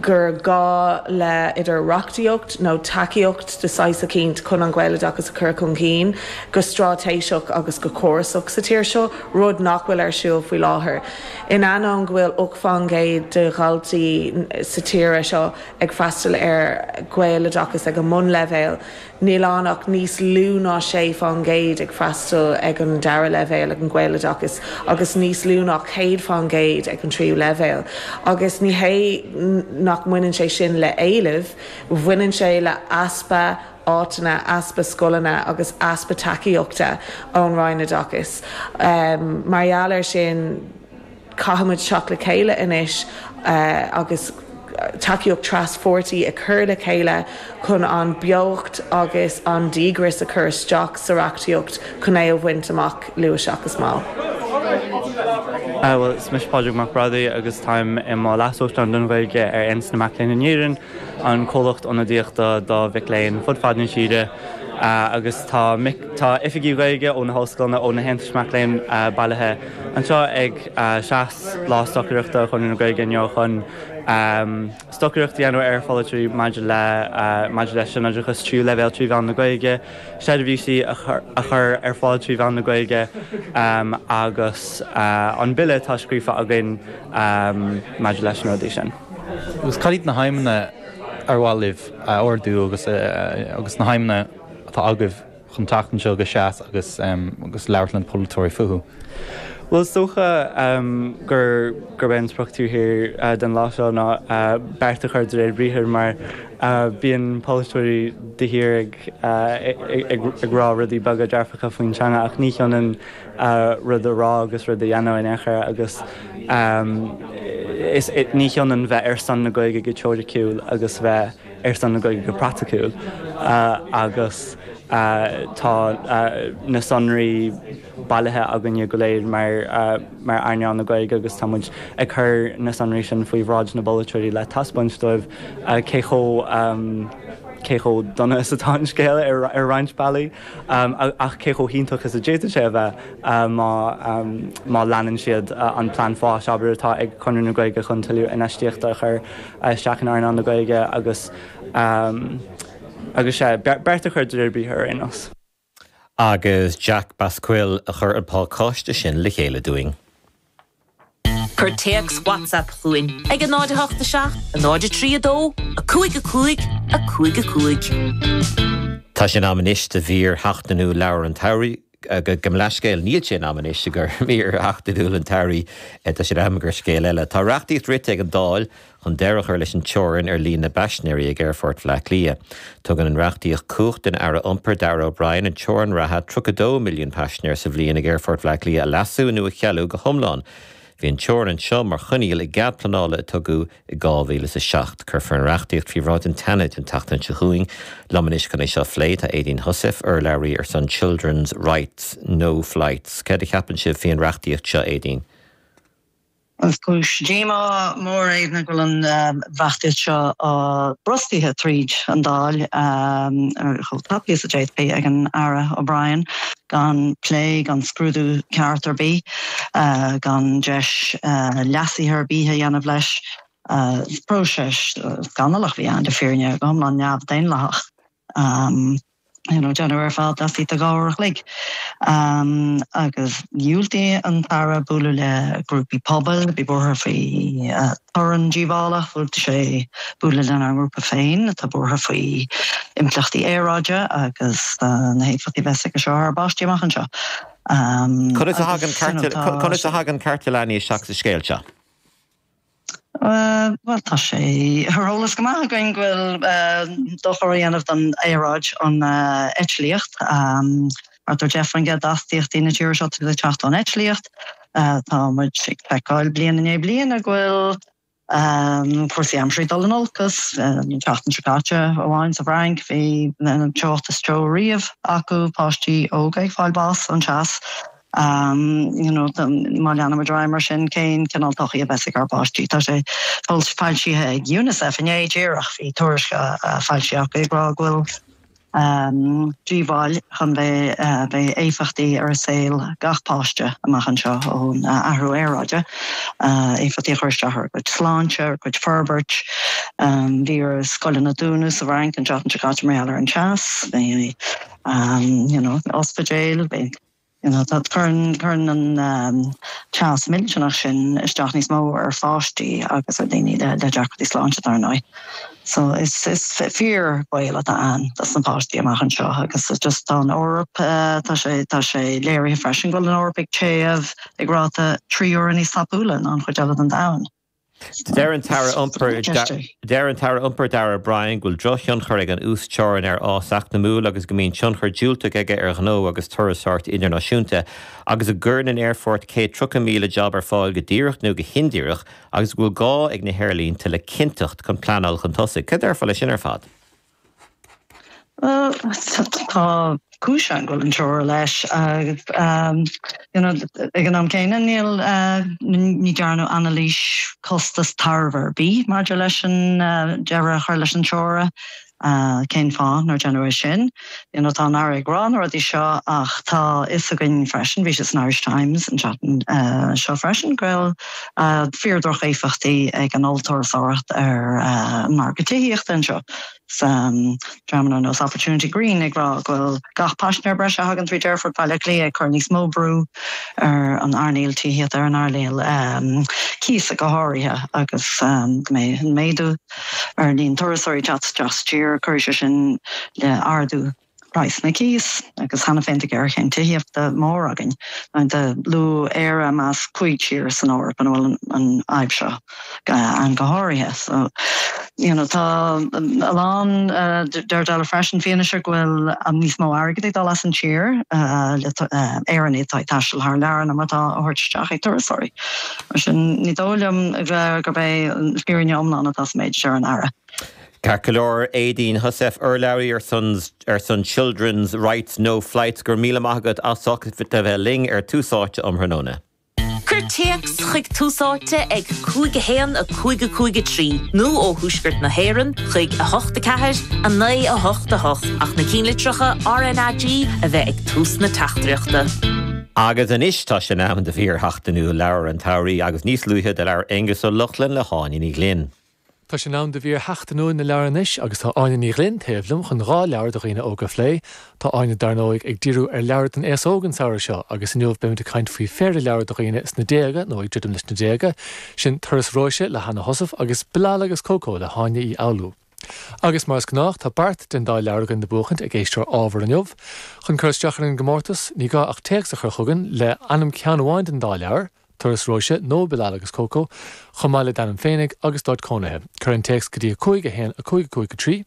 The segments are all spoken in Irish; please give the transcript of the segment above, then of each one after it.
gur gá le idir reachtaíocht nó tacaíocht de saghas eicínt chun an Ghaeloideachas a chur chun cinn go straitéiseach agus go córasach sa tír seo, rud nach bhfuil ar siúl faoi láthair. In ainneoin go bhfuil 8 fán gcéad de dhaltaí sa tír seo ag freastal ar Ghaeloideachas ag an mbunleibhéal, Níl ann ach níos lú ná 6 fán gcéad ag freastal ag an dara leibhéal ag an Ghaeloideachas agus níos lú ná 100 fán gcéad ag an tríú leibhéal. Agus ní hé nach mbaineann sé sin le éileamh, bhaineann sé le easpa áiteanna, easpa scoileanna agus easpa tacaíochta ón Roinn Oideachais. Mar gheall air sin, Caithfimid teacht le chéile anois agus tacaíocht tras-pháirtí a chur le chéile chun an beocht agus an díograis a chur isteach sa reachtaíocht chun é a bhaint amach luath seachas mall. Bhuel, is mise Pádraig Mac Brádaigh agus táim i mo Leas-Uachtarán don Ghaeilge ar Aontas na Mac Léinn in Éirinn, an comhlacht ionadaíochta do mhic léinn fud fad na tíre. Agus tá tá oifigigh Ghaeilge ó na hollscoileanna, ó na haontais mac léinn bailithe anseo ag Seas, Lá Stocaireachta Chonradh na Gaeilge inniu chun stocaireacht a dhéanamh ar pholaiteoirí maidir le maidir leis an oideachas tríú leibhéal trí mheán na Gaeilge, seirbhísí a chur ar fáil trí mheán na Gaeilge agus an bille atá scríofa againn maidir leis na rudaí sin. Agus cad iad na haidhmeanna ar mhaith libh a ardú agus agus na haidhmeanna atá agaibh chun teacht anseo go Seas agus agus labhairt le na polaiteoirí fúthu? Bhuel, is dócha gur gurb é an sprioc taobh thiar den lá seo ná beart a chur de réir briathair mar bíonn polaiteoirí de shíor ag ag rá rudaí beaga dearfacha faoin teanga ach ní hionann rud a rá agus rud a dhéanamh in aon chor agus is ní hionann bheith ar son na Gaeilge go teoiriciúil agus bheith ar son na Gaeilge go praiticiúil agus tá na sonraí bailithe againne go léir mar mar earnáil na Gaeilge agus tá muid ag cur na sonraí sin faoi bhráid na bpolaiteoirí le taispeáint dóibh cé chomh cé chomh dona is atá an scéal ar roinnt bealaí. Ach cé chomh hiontach is a d'fhéadfadh sé a bheith má leanann siad an plean fáis, abair, atá ag Conradh na Gaeilge chun tuilleadh infheistíochta a chur isteach in earnáil na Gaeilge agus agus sea, beart a chur de réir briathair ar aon nós. Agus Jack Basquill a chuir an pacáiste sin le chéile dúinn. Cuir téacs WhatsApp chugainn ag 0 8 7 0 3 2 5 5 5 5. Tá sé in am anois do mhír sheachtainiúil Leabhar an tSamhraidh. Gabh mo leithscéal, níl sé in am anois do mhír sheachtainiúil an tsamhraidh, tá sé in am do scéal eile. Tá reachtaíocht rite ag an Dáil chun deireadh a chur leis an teorainn ar líon na bpaisinéirí ag Aerfort Bhaile Átha Cliath. Tugann an reachtaíocht cumhacht don Aire Iompair, Darragh O'Brien, an teorainn reatha 32 milliún paisinéir sa bhliain ag Aerfort Bhaile Átha Cliath a leasú nó a chealú go hiomlán. Bhí an teorainn seo mar choinníoll i gcead pleanála a tugadh i 2007. Cuirfear an reachtaíocht faoi bhráid an tSeanaid an tseachtain seo chugainn. Liom anois chun é seo a phlé tá Aedín Heussaff, urlabhraí ar son Children's Rights No Flights. Céard a cheapann sibh faoi an reachtaíocht seo, Aedín? Is cúis díomá mór é go bhfuil an reachtaíocht seo brostaithe tríd an Dáil chomh tapaidh is a d'fhéadfaí ag an Aire O'Brien, gan plé, gan scrúdú ceart ar bith, gan deis leasuithe ar bith a dhéanamh leis. Is próiseas scannalach a bhí ann, le fírinne, go hiomlán neamh-dhaonlathach. You know, déanamh ar fad laistigh de 2 uair a chloig. Agus dhiúltaigh an tAire bualadh le grúpaí pobail, bhí buartha faoi torann díobhálach, dhiúltaigh sé bualadh lenár ngrúpa féin atá buartha faoi impleachtaí aeráide agus na héifeachtaí a bheas aige seo ar ár bpáistí amach anseo. Conas a thagann, conas a thagann cearta leanaí isteach sa scéal seo? Bhuel, tá sé ar eolas go maith againn go bhfuil dochar á dhéanamh don aeráid an eitlíocht. Thart ar 10% d'astaíochtaí na tíre seo ag teacht ón eitlíocht. Tá muid ag feiceáil bliain i ndiaidh bliana go bhfuil cúrsaí aimsire ag dul in olcas. An tseachtain seo caite amháin sa bhFrainc bhí an teocht is teo riamh acu, páistí óga ag fáil bás ón teas. You know, má leanaimid ar aghaidh mar sin, cén cineál todhchaí a bheas ag ár bpáistí? Tá sé foilsithe ag Unicef inné díreach, bhí tuairisc foilsithe acu ag rá go bhfuil. Díobháil chun bheith beidh éifeachtaí ar saol gach páiste amach anseo ón athrú aeráide, éifeachtaí a chur isteach ar a gcuid sláinte, ar a gcuid forbairt. Bhí ar scoileanna dúnadh sa bhFrainc an tseachtain seo caite mar gheall ar an teas, bhí you know ospidéil, bhí You know, tá, cuireann, cuireann an teas millteanach sin isteach níos mó ar pháistí agus ar dhaoine le, le deacrachtaí sláinte, dar ndóigh. So is, is fíorbhaol atá ann dos na páistí amach anseo agus just tá an Eoraip, tá sé, tá sé léirithe freisin go bhfuil an Eoraip ag téamh ag ráta 3 huaire níos tapúla ná an chuid eile den domhan. Deir an tAire Iompair Deir an tAire Iompair Darragh O'Brien go bhfuil drochthionchar ag an uasteorainn ar fhás eacnamúil agus go mbíonn tionchar diúltach aige ar ghnó agus turasóireacht idirnáisiúnta agus go gcuireann an aerfort 130,000 jab ar fáil go díreach nó go hindíreach agus go bhfuil gá ag na haerlínte le cinnteacht chun pleanáil chun tosaigh. Cad a déarfá leis sin ar fad? Bhuel, tá cúis ann go bhfuil an teora leis agus you know ag an am céanna níl ní dearnadh anailís costas tairbhe ar bith maidir leis an deireadh a chur leis an teora. Cén fáth nár deineadh é sin? You know tá an Aire ag rá na rudaí seo ach tá fhios againn freisin, bhí sé san Irish Times an tseachtain seo freisin, go bhfuil fíor-dhroch-éifeachtaí ag an ollturasóireacht ar an margadh tithíochta anseo. Dreamanna ar nós Opportunity Green ag rá go bhfuil gach paisinéir breise a thagann tríd Aerfort Bhaile Átha Cliath ag cur níos mó brú ar an earnáil tithíochta, ar an earnáil cíosa go háirithe agus go mbeidh an méadú ar líon turasóirí ag teacht isteach sa tír, cuirfidh sé sin le ardú praghsanna cíos agus cheana féin tá géarchéim tithíochta mór againn. Luadh Éire i measc 5 tír san Eoraip ina bhfuil an fhadhb seo ann go háirithe. So, you know, tá a lán, deir eile freisin, fianaise go bhfuil níos mó airgid ag dul as an tír le Éireannaigh atá ag taisteal thar lear ná mar atá á thabhairt isteach ag turasóirí. Mar sin, ní dóigh liom gurb é an fhírinne iomlán atá sa méid a deir an Aire. Ceart go leor, Éadaoin Heussaff, urlabhraí ar son ar son Children's Rights No Flights, go raibh míle maith agat as ucht a bheith linn ar Tús Áite um thráthnóna. Cuir téacs chuig Tús Áite ag 5 1 5 5 3 nó ó thuaisceart na hÉireann chuig 8 4 9 8 8 ach na cinnlitreacha RnaG a bheith ag tús na teachtaireachta. Agus anois tá sé in am do mhír sheachtainiúil Leabhar an tSamhraidh agus níos luaithe do labhair Aengus Ó Lochlainn le hÁine Ní Ghlinn. Tá sé in am do mhír sheachtainiúil na leabhar anois agus tá Áine Ní Ghlinn taobh liom chun 2 leabhar do dhaoine óga a phlé. Tá Áine dar ndóigh ag díriú ar leabhair don aos óg an samhradh seo agus inniu beimid ag caint faoi phéire leabhar do dhaoine sna déaga nó ag druidim leis na déaga, sin Turas Róise le Hanna Heussaff agus Bilal agus Coco le hÁine Uí Fhoghlú. Agus mar is gnách tá beart den dá leabhar againn le buachaint ag éisteoir ábhar inniu. Chun cur isteach ar an gcomórtas ní gá ach téacs a chur chugainn le ainm ceann amháin den dá leabhar, Turas Róise nó Bilal agus Coco, chomh maith le d'ainm féinig agus d'áit cónaithe. Cuir an téacs go dtí 5 1 5 5 3,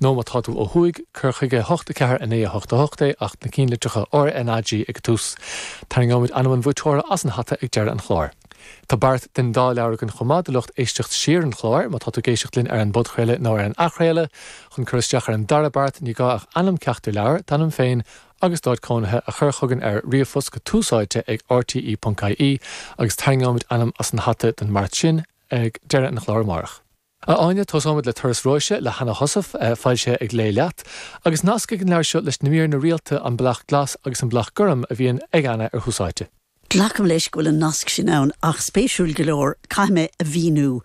nó má tá tú ó thuaidh, cuir chuig 8 4 9 8 8 é ach na cinnlitreacha RnaG ag an tús. Tarraingeoimid ainm an bhuaiteora as an hata ag deireadh an chláir. Tá beart den dá leabhar againn chomh maith do lucht éisteacht siar an chláir, má tá tú ag éisteacht linn ar an bpodchraoladh nó ar an athchraoladh. Chun cur isteach ar an dara beart, ní gá ach ainm ceachtar leabhar, d'ainm féin agus d'áit cónaithe a chur chugainn ar ríomhphost go túsáite ag rte.ie agus tarraingeoimid ainm as an hata don mbeart sin ag deireadh an chláir amárach. A Áine, tosóimid le Turas Róise le Hanna Heussaff, foilsithe ag Léigh Leat, agus nasc ag an leabhar seo leis na míreanna rialta An Bealach Glas agus An Bealach Gorm a bhíonn ag Anna ar Thús Áite. Glacaim leis go bhfuil an nasc sin ann ach spéisiúil go leor caithfidh mé a mhíniú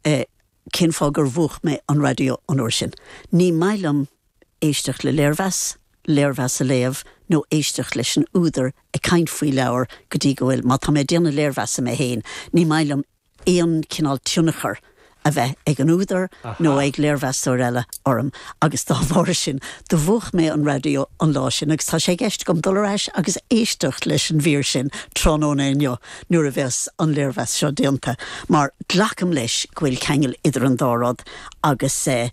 cén fáth gur mhúch mé an raidió an uair sin. Ní maith liom éisteacht le léirmheas, léirmheas a léamh nó éisteacht leis an údar ag caint faoi leabhar go dtí go bhfuil, má tá mé ag déanamh léirmheasa mé féin, ní maith liom aon chineál tionchar a bheith ag an údar nó ag léirmheastóir eile orm agus dá bharr sin do mhúch mé an raidió an lá sin agus tá sé i gceist agam dul ar ais agus éisteacht leis an mhír sin tráthnóna inniu nuair a bheas an léirmheas seo déanta mar glacaim leis go bhfuil ceangal idir an dá rud agus eh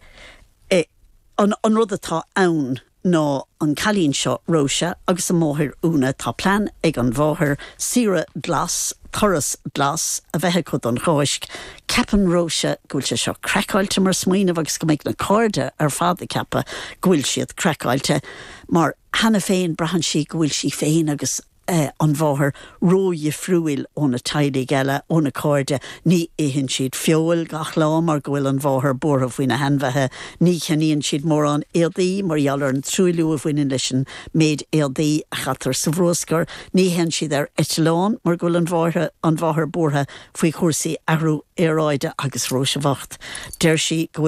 An rud atá ann ná an cailín seo, Róise, agus a máthair Úna, tá plean ag an mháthair saoire glas, turas glas, a bheith acu don Cháisc. Ceapann Róise go bhfuil sé seo craiceáilte mar smaoineamh agus go mbeidh na cairde ar fad ag ceapadh go bhfuil siad craiceáilte mar cheana féin braitheann sí go bhfuil sí féin agus. an mháthair ródhifriúil ó na teaghlaigh eile, óna cairde. Ní itheann siad feoil gach lá mar go bhfuil an mháthair buartha faoi na hainmhithe. Ní cheannaíonn siad mórán éadaí mar gheall ar an truailliú a bhaineann leis an méid éadaí a chaitear sa bhruascar. Ní théann siad ar eitleán mar go bhfuil an mháthair an mháthair buartha faoi chúrsaí athrú aeráide agus Róise bhocht, deir sí go bhfuil.